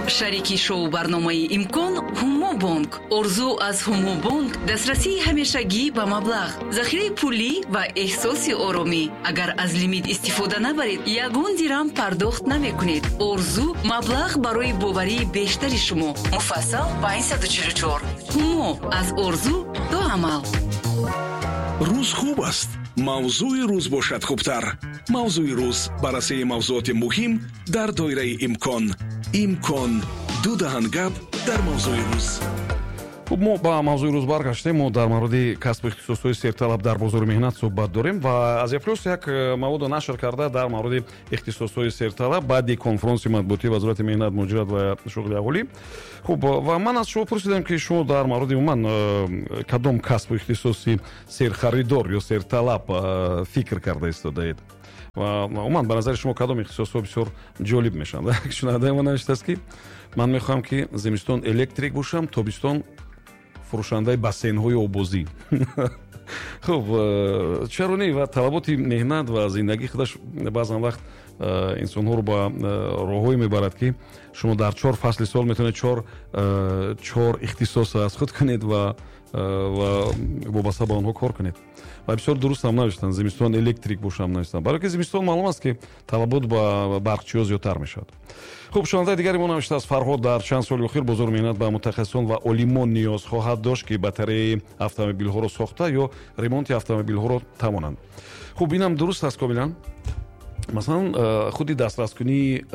Шарики шоу барномаи «Имкон» «Ҳумо Бонк». Орзу аз «Ҳумо Бонк» дастрасии ҳамешагӣ ба маблағ, захираи пулӣ ва эҳсоси оромӣ. Агар аз лимит истифода набаред, ягон дирам пардохт намекунед. Орзу маблағ барои боварии бештари шумо. Муфассал 544. «Ҳумо» аз орзу то амал. Рӯз хуб аст, мавзӯи рӯз бошад хубтар. «Мавзӯи рӯз», баррасии мавзӯоти муҳим дар доираи имкон. «Имкон», ду даҳан гап дар мавзӯи рӯз. Хуб, мо ба мавзӯи рӯз баргаштем. Мо дар мавриди касбу ихтисосҳои серталаб дар бозори меҳнат суҳбат дорем ва «Азия Плюс» як маводо нашр карда дар мавриди ихтисосҳои серталаб баъди конфронси матбуотии Вазорати меҳнат, муҳоҷират ва шуғли аҳолӣ. Хуб, ва ман аз шумо пурсидам, ки шумо дар мавриди умуман кадом касбу ихтисоси серхаридор ё серталаб фикр карда истодаед ва умуман ба назари шумо кадом ихтисосҳо бисёр ҷолиб мешаванд. Шунавандаи мо навиштааст, ки ман мехоҳам, ки зимистон электрик бошам, тобистон фурӯшандаи бассейнҳои оббозӣ. Хуб, чаро не? Ва талаботи меҳнат ва зиндагӣ худаш баъзан вақт инсонҳоро ба роҳҳое мебарад, ки шумо дар чор фасли сол метавонед чор ихтисос аз худ кунед ва вобаста ба онҳо кор кунед. Ва бисёр дуруст ҳам навиштанд, зимистон электрик бошам навиштанд, барое ки зимистон маълум аст, ки талабот ба барқчиҳо зиёдтар мешавад. Хуб, шунавандаи дигари мо навиштааст, Фарҳод: дар чанд соли охир бозори меҳнат ба мутахассисон ва олимон ниёз хоҳад дошт, ки батареяи автомобилҳоро сохта ё ремонти автомобилҳоро тавонанд. Хуб, инам дуруст аст комилан. Масалан, худи дастраскунии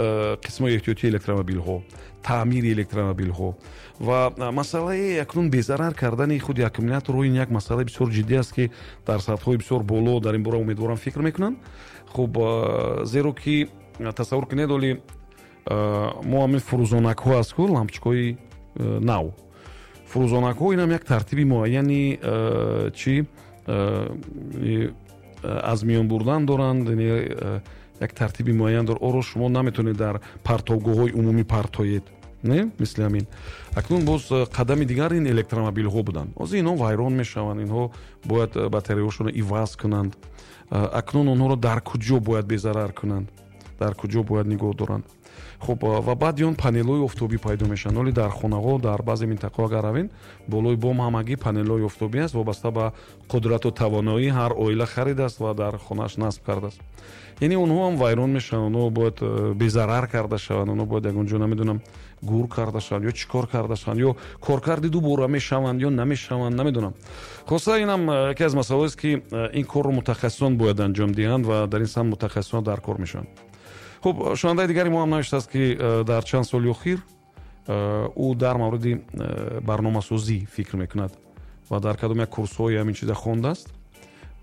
қисмҳои эҳтиётии электромобилҳо, таъмири электромобилҳо ва масъалаи акнун безарар кардани худи аккумуляторҳо, ин як масъалаи бисёр ҷиддӣ аст, ки дар сатҳҳои бисёр боло дар ин бора, умедворам, фикр мекунанд. Хуб, зеро ки тасаввур кунед, оли мо ҳамин фурӯзонакҳо аст ку, лампочкаҳои нав, фурӯзонакҳо, инам як тартиби муайяни чи аз миён бурдан доранд, як тартиби муайян дор. Оро шумо наметавонед дар партовгоҳҳои умумӣ партоед, не мисли ҳамин. Акнун боз қадами дигар ин электромобилҳо буданд. Ҳозир инҳо вайрон мешаванд, инҳо бояд батареяҳошонро иваз кунанд. Акнун онҳоро дар куҷо бояд безарар кунанд, дар куҷо бояд нигоҳ доранд? Хуб, ва баъди он панелҳои офтобӣ пайдо мешаванд. Оли дар хонаҳо, дар баъзе минтақаҳо агар равем, болои бом ҳамагӣ панелҳои офтобӣ аст. Вобаста ба қудрату тавоноӣ ҳар оила харидааст ва дар хонааш насб кардааст. Яъне онҳо ҳам вайрон мешаванд, онҳо бояд безарар карда шаванд, онҳо бояд ягон ҷо, намедонам, гур карда шаванд ё чӣ кор карда шаванд, ё коркарди дубора мешаванд ё намешаванд, намедонам. Хулоса, инам яке аз масъалаҳоест, ки ин корро мутахассисон бояд анҷом диҳанд ва дар ин самт мутахассисон дар кор мешаванд. Хуб, шунавандаи дигари мо ҳам навиштааст, ки дар чанд соли охир ӯ дар мавриди барномасозӣ фикр мекунад ва дар кадом як курсҳои ҳамин чиза хондааст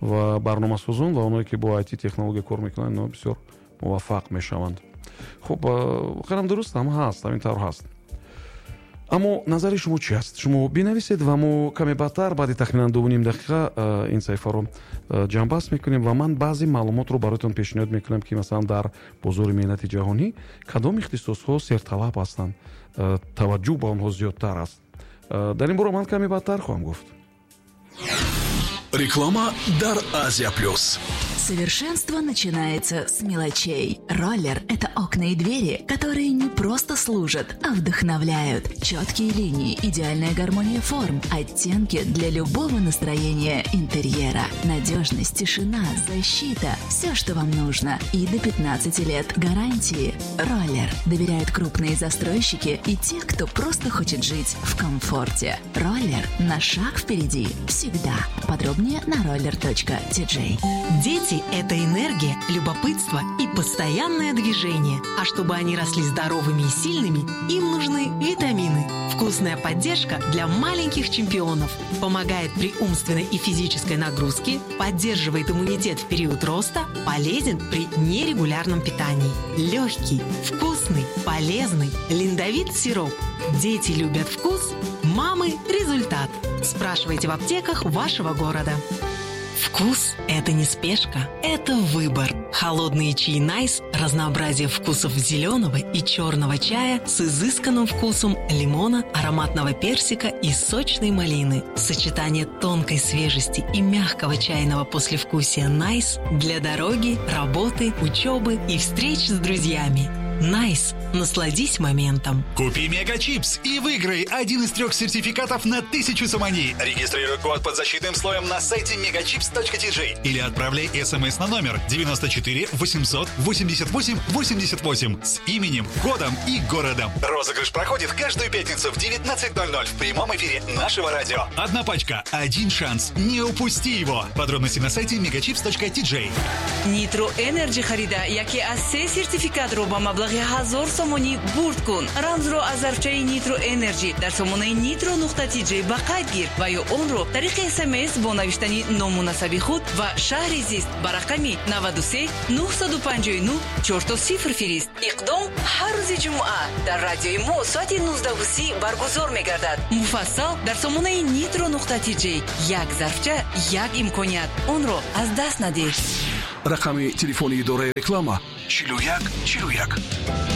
ва барномасозон ва онҳое, ки бо IT технология кор мекунанд, инҳо бисёр муваффақ мешаванд. Хуб, воқеан дуруст ҳам ҳаст, ҳамин тавр ҳаст. Аммо назари шумо чи аст? Шумо бинависед ва мо каме баъдтар, баъди тахминан 2,5 дақиқа, ин саҳифаро ҷамъбаст мекунем ва ман баъзе маълумотро бароятон пешниҳод мекунам, ки масалан дар бозори меҳнати ҷаҳонӣ кадом ихтисосҳо серталаб ҳастанд, таваҷҷӯҳ ба онҳо зиёдтар аст. Дар ин бора ман каме баъдтар хоҳам гуфт. Реклама дар «Азия Плюс». Совершенство начинается с мелочей. «Роллер» — это окна и двери, которые не просто служат, а вдохновляют. Четкие линии, идеальная гармония форм, оттенки для любого настроения интерьера. Надежность, тишина, защита – все, что вам нужно. И до 15 лет гарантии. «Роллер» доверяют крупные застройщики и те, кто просто хочет жить в комфорте. «Роллер» на шаг впереди всегда. Подробнее на roller.tj. Дети – это энергия, любопытство и постоянное движение. А чтобы они росли здоровыми и сильными, им нужны витамины. Вкусная поддержка для маленьких чемпионов. Помогает при умственной и физической нагрузке, поддерживает иммунитет в период роста, полезен при нерегулярном питании. Легкий, вкусный, полезный Линдовит сироп. Дети любят вкус, мамы – результат. Спрашивайте в аптеках вашего города. Вкус – это не спешка, это выбор. Холодные чаи «Найс» – разнообразие вкусов зеленого и черного чая с изысканным вкусом лимона, ароматного персика и сочной малины. Сочетание тонкой свежести и мягкого чайного послевкусия «Найс» для дороги, работы, учебы и встреч с друзьями. Nice. Насладись моментом. Купи Мегачипс и выиграй один из 3 сертификатов на 1000 сомони. Регистрируй код под защитным слоем на сайте megachips.tj или отправляй смс на номер 94 888 88 с именем, кодом и городом. Розыгрыш проходит каждую пятницу в 19:00 в прямом эфире нашего радио. Одна пачка, один шанс. Не упусти его. Подробности на сайте megachips.tj. Nitro Energy харида яке аз 3 сертификатро ба маблағи 1000 сомонӣ бурд кун. Рамзро аз зарфчаи Nitro Energy дар сомонаи nitro.tj ба қайд гир ва ё онро тариқи СМС бо навиштани ному насаби худ ва шаҳри зист ба рақами 93 959 00 фирист. Иқдом ҳар рӯзи ҷумъа дар радиои мо соати 19:30 баргузор мегардад. Муфассал дар сомонаи nitro.tj. Як зарфча, як имконият. Онро аз даст надеҳ. Рақами телефони идораи реклама 41 41.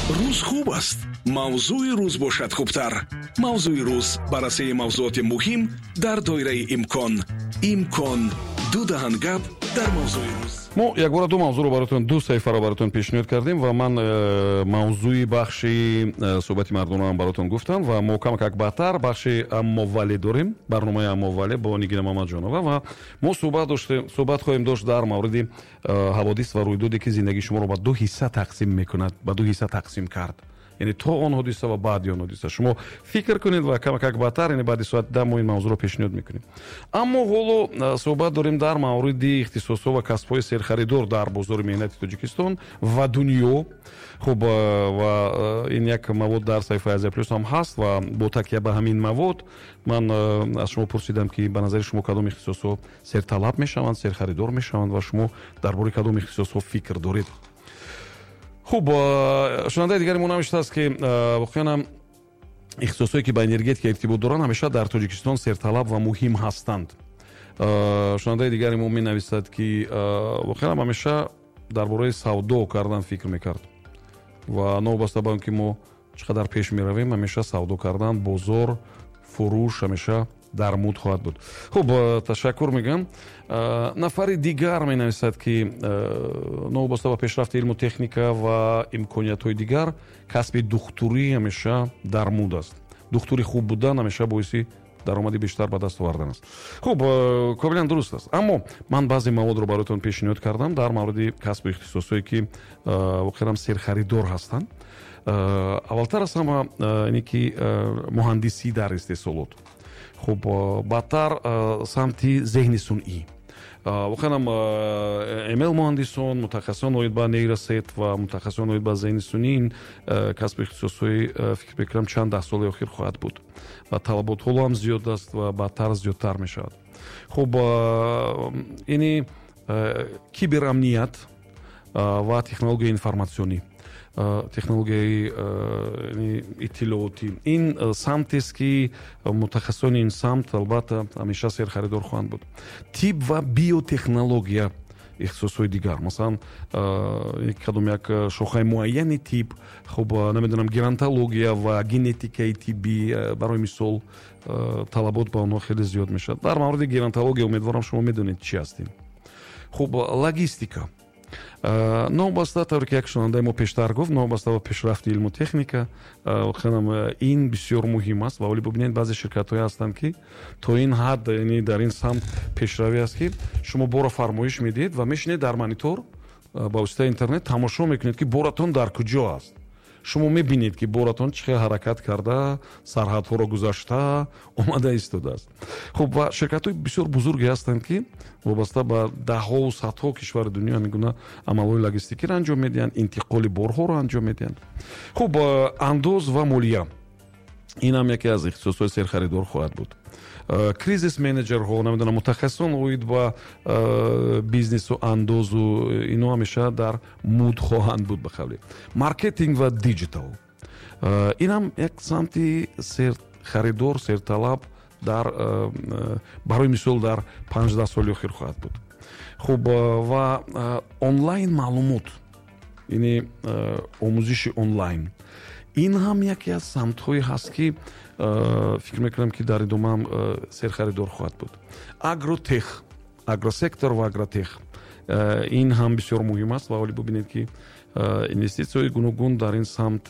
Рӯз хуб аст. Мавзӯи рӯз бошад хубтар. Мавзӯи рӯз баррасии мавзӯоти муҳим дар доираи имкон. Имкон ду даҳан гап дар мавзӯи рӯз. Мо якбора ду мавзӯъро баротон, ду саҳифаро баротон пешниҳод кардем ва ман мавзӯи бахши суҳбати мардонаам баротон гуфтам ва мо камакак баъдтар бахши аммовале дорем, барномаи аммовале бо Нигина Мамаҷонова ва мо суҳбат хоҳем дошт дар мавриди ҳаводис ва рӯйдоде ки зиндагии шуморо ба ду ҳисса тақсим мекунад, ба ду ҳисса тақсим кард. Яъне то он ҳодиса ва баъди он ҳодиса. Шумо фикр кунед ва камакак баъдтар, яъне баъди соати 10 мо ин мавзӯъро пешниҳод мекунем. Аммо ҳоло суҳбат дорем дар мавриди ихтисосҳо ва касбҳои серхаридор дар бозори меҳнати Тоҷикистон ва дунё. Хуб, ва ин як мавод дар саҳифаи Азия Плюс ҳам ҳаст ва бо такя ба ҳамин мавод ман аз шумо пурсидам ки ба назари шумо кадом ихтисосҳо серталаб мешаванд, серхаридор мешаванд ва шумо дар бораи кадом ихтисосҳо фикр доред. Хуб, шунавандаи дигари мо навиштааст ки воқеан ҳам ихтисосҳое ки ба энергетика иртибот доранд ҳамеша дар Тоҷикистон серталаб ва муҳим ҳастанд. Шунавандаи дигари мо менависад ки воқеан ҳам ҳамеша дар бораи савдо кардан фикр мекард ва новобаста ба он ки мо чӣ қадар пеш меравем, ҳамеша савдо кардан, бозор, фурӯш ҳамеша дар муд хоҳад буд. Хуб, ташаккур мегӯям. Нафари дигар менависад ки новобаста ба пешрафти илму техника ва имкониятҳои дигар касби духтурӣ ҳамеша дар муд аст. Духтури хуб будан ҳамеша боиси даромади бештар ба даст овардан аст. Хуб, комилан дуруст аст. Аммо ман баъзе маводро бароятон пешниҳод кардам дар мавриди касбу ихтисосҳое ки воқеан серхаридор ҳастанд. Аввалтар аз ҳама ине ки муҳандисӣ дар истеҳсолот. Хуб, баъдтар самти зеҳни сунъӣ. Воқеан ҳам ML муҳандисон, мутахассисон оид ба нейросет ва мутахассисон оид ба зеҳни сунъӣ ин касбу ихтисосҳои фикр мекунам чанд даҳ соли охир хоҳад буд ва талабот ҳоло ҳам зиёд аст ва баъдтар зиёдтар мешавад. Хуб, ини киберамният ва технологияи информатсионӣ, технологияи иттилоотӣ. Ин самтест ки мутахассисони ин самт албатта ҳамеша серхаридор хоҳанд буд. Тиб ва биотехнология ихтисосҳои дигар, масалан кадом як шохаи муайяни тиб, хуб, намедонам, геронтология ва генетикаи тиббӣ барои мисол талабот ба онҳо хеле зиёд мешавад. Дар мавриди геронтология умедворам шумо медонед чӣ ҳастем. Хуб, логистика. Новобаста, тавре ки як шунавандаи мо пештар гуфт, новобаста ба пешрафти илму техника, воқеан ин бисёр муҳим аст ва вале бибинед баъзе ширкатҳое ҳастанд ки то ин ҳад, яъне дар ин самт пешравӣ аст ки шумо бора фармоиш медиҳед ва мешинед дар монитор ба воситаи интернет тамошо мекунед ки боратон дар куҷо аст. Шумо мебинед ки боратон чӣ хел ҳаракат карда, сарҳадҳоро гузашта омада истодааст. Хуб, ва ширкатҳои бисёр бузурге ҳастанд ки вобаста ба даҳҳову садҳо кишвари дунё ҳамин гуна амалҳои логистикиро анҷом медиҳанд, интиқоли борҳоро анҷом медиҳанд. Хуб, андоз ва молия. Ин ҳам яке аз ихтисосҳои серхаридор хоҳад буд. Кризис менеҷерҳо, намедонам, мутахассисон оид ба бизнесу андозу ино ҳамеша дар муд хоҳанд буд ба қавле. Маркетинг ва диджитал. Ин ҳам як самти серхаридор, серталаб дар барои мисол дар 15 соли охир хоҳад буд. Хуб, ва онлайн маълумот, яъне омӯзиши онлайн. Ин ҳам яке аз самтҳое ҳаст ки фикр мекунам ки дар идома ҳам серхаридор хоҳад буд. Агротех, агросектор ва агротех. Ин ҳам бисёр муҳим аст ва вале бибинед ки Инвеститсияҳои гуногун дар ин самт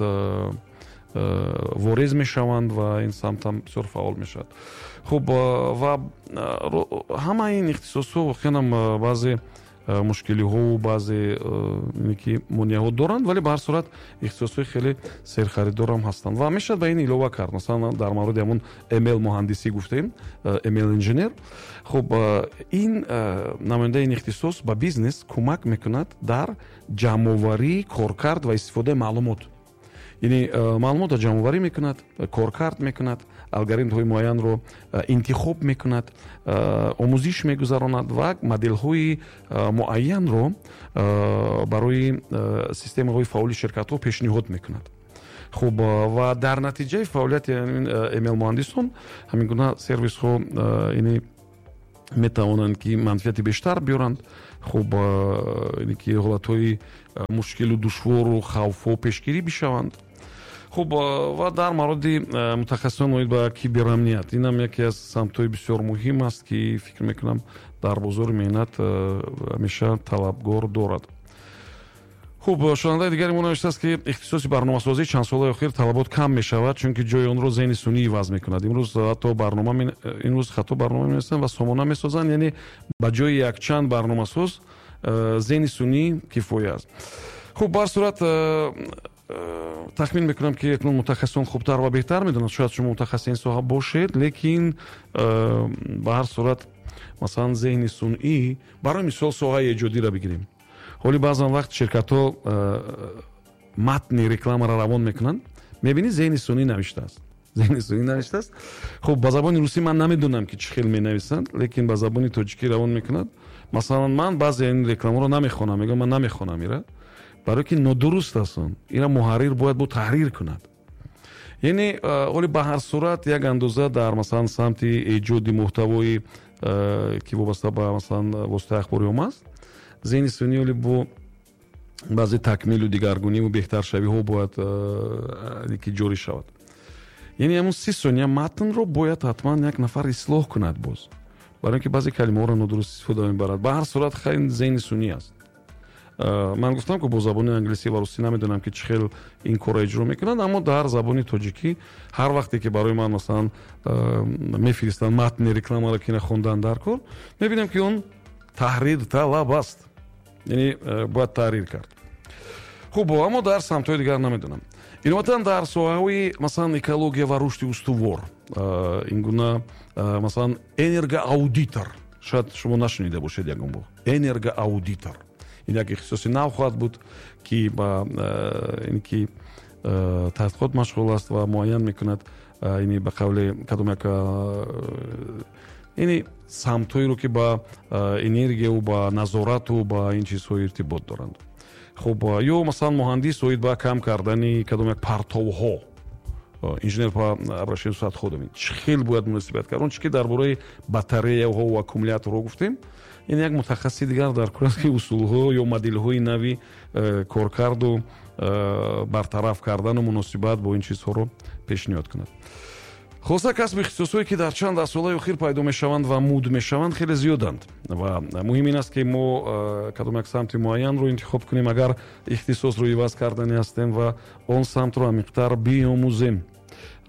ворез мешаванд ва ин самт ҳам бисёр фаъол мешавад. Хуб, ва ҳамаи ин ихтисосҳо воқеан баъзе мушкилиҳову баъзе ки монеаҳо доранд, вале ба ҳар сурат ихтисосҳои хеле серхаридорам ҳастанд ва мешавад ба ин илова кард. Масалан, дар мавриди ҳамон ML муҳандисӣ гуфтем, ML инженер. Хуб, ин намояндаи ин ихтисос ба бизнес кӯмак мекунад дар ҷамъоварии, коркард ва истифодаи маълумот. Яъне маълумотро ҷамъоварӣ мекунад, коркард мекунад, алгоритмҳои муайянро интихоб мекунад, омӯзиш мегузаронад ва моделҳои муайянро барои системаҳои фаъоли ширкатҳо пешниҳод мекунад. Хуб, ва дар натиҷаи фаъолияти ML муҳандисон ҳамин гуна сервисҳо яъне метавонанд, ки манфиати бештар биёранд. Хуб, яъне ки ҳолатҳои мушкилу душвору хавфҳо пешгирӣ бишаванд. Хуб, ва дар мавриди мутахассисон оид ба киберамният, инам яке аз самтҳои бисёр муҳим аст, ки фикр мекунам, дар бозори меҳнат ҳамеша талабгор дорад. Хуб, шунавандаи дигари мо навиштааст, ки ихтисоси барномасозӣ чанд солаи охир талабот кам мешавад, чунки ҷои онро зеҳни сунъӣ иваз мекунад. Имрӯз ҳатто барнома, имрӯз хато барнома менависанд ва сомона месозанд, яъне ба ҷои якчанд барномасоз зеҳни сунъӣ кифоя аст. Хуб, ба ҳар сурат, тахмин мекунам, ки акнун мутахассисон хубтар ва беҳтар медонанд. Шояд шумо мутахассиси ин соҳа бошед, лекин ба ҳар сурат, масалан, зеҳни сунъӣ, барои мисол, соҳаи эҷодиро бигирем. Ҳоли баъзан вақт ширкатҳо матни рекламаро равон мекунанд, мебинӣ, зеҳни сунъӣ навиштааст, зеҳни сунъӣ навиштааст. Хуб, ба забони русӣ ман намедонам, ки чӣ хел менависанд, лекин ба забони тоҷикӣ равон мекунад. Масалан, ман баъзе ин рекламаро намехонам, мегӯям, ман намехонам ира, барое ки нодуруст аст. Он ира муҳаррир бояд бо таҳрир кунад. Яъне ҳоли ба ҳар сурат як андоза дар, масалан, самти эҷоди муҳтавои, ки вобаста ба, масалан, воситаи ахбори омма аст, зеҳни сунъӣ ҳоли бо баъзе такмилу дигаргуниву беҳтаршавиҳо бояд ки ҷорӣ шавад. Яъне ҳамун 30 сония матнро бояд ҳатман як нафар ислоҳ кунад боз, барои ин ки баъзе калимаҳоро нодуруст истифода мебарад. Ба ҳар сурат, хайр, зеҳни сунъӣ аст. Ман гуфтам, ки бо забони англисӣ ва русӣ намедонам, ки чӣ хел ин корро иҷро мекунанд, аммо дар забони тоҷикӣ ҳар вақте ки барои ман, масалан, мефиристанд матни рекламаро, ки хондан дар кор, мебинам, ки он таҳрир талаб аст, яъне бояд таҳрир кард. Хуб, аммо дар самтҳои дигар намедонам. Иловатан, дар соҳаҳои, масалан, экология ва рушди устувор, ин гуна, масалан, энергоаудитор, шояд шумо нашунида бошед ягон бор. Энергоаудитор ин як ихтисоси нав хоҳад буд, ки ба ин ки таҳқиқот машғул аст ва муайян мекунад, ини ба қавли кадом як ини самтҳоеро, ки ба энергияву ба назорату ба ин чизҳо иртибот доранд. Хуб, ё масалан, муҳандис оид ба кам кардани кадом як партовҳо, инженер по обращению с отходами, чӣ хел бояд муносибат кард. Он чи ки дар бораи батареяҳо ва аккумуляторҳо гуфтем, ин як мутахассиси дигар дар кор аст, ки усулҳо ё моделҳои нави коркарду бартараф кардану муносибат бо ин чизҳоро пешниҳод кунад. Хулоса, касби ихтисосҳое, ки дар чанд даҳсолаи охир пайдо мешаванд ва муд мешаванд, хеле зиёданд ва муҳим ин аст, ки мо кадом як самти муайянро интихоб кунем, агар ихтисосро иваз кардани ҳастем, ва он самтро амиқтар биомӯзем.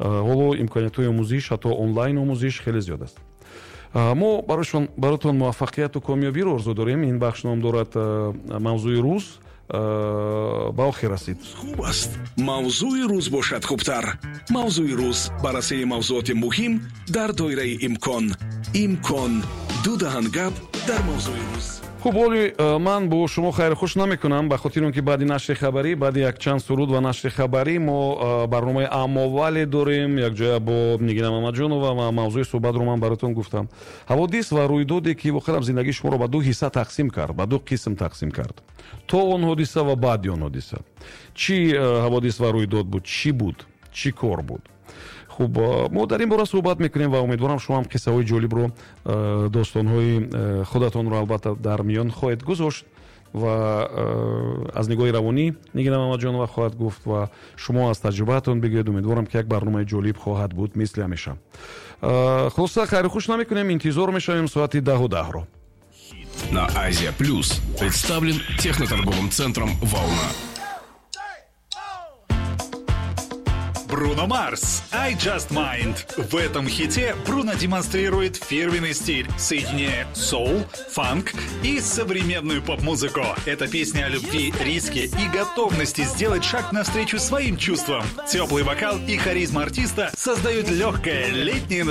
Ҳоло имкониятҳои омӯзиш, ҳатто онлайн омӯзиш, хеле зиёд аст. Мо баротон муваффақияту комёбиро орзу дорем. Ин бахш ном дорад «Мавзӯи рӯз», ба охир расид. Хуб аст, мавзӯи рӯз бошад хубтар. Мавзӯи рӯз: баррасии мавзӯоти муҳим дар доираи имкон. Имкон ду даҳан гап дар мавзӯи рӯз. Хуб, ҳоли ман бо шумо хайрхуш намекунам, ба хотири он ки баъди нашри хабарӣ, баъди якчанд суруд ва нашри хабарӣ, мо барномаи «Аммовале» дорем якҷоя бо Нигина Мамаҷонова ва мавзӯи суҳбатро ман баротон гуфтам: ҳаводис ва рӯйдоде, ки воқеан зиндагии шуморо ба ду ҳисса тақсим кард, ба ду қисм тақсим кард: то он ҳодиса ва баъди он ҳодиса. Чӣ ҳаводис ва рӯйдод буд, чӣ буд, чӣ кор буд? Хуб, мо дар ин бора суҳбат мекунем ва умедворам, шумо ҳам қиссаҳои ҷолибро, достонҳои худатонро албатта дар миён хоҳед гузошт ва аз нигоҳи равонӣ Нигина Мамаҷонова хоҳад гуфт ва шумо аз таҷрибаатон бигӯед. Умедворам, ки як барномаи ҷолиб хоҳад буд, мисли ҳамеша. Хулоса, хайру хуш намекунем, интизор мешавем соати 10:10-ро. На Азия Плюс представлен техноторговым центром «Волна». Бруно Марс, «I Just Might». В этом хите Бруно демонстрирует фирменный стиль, соединяя соул, фанк и современную поп-музыку. Это песня о любви, риске и готовности сделать шаг навстречу своим чувствам. Теплый вокал и харизма артиста создают легкое летнее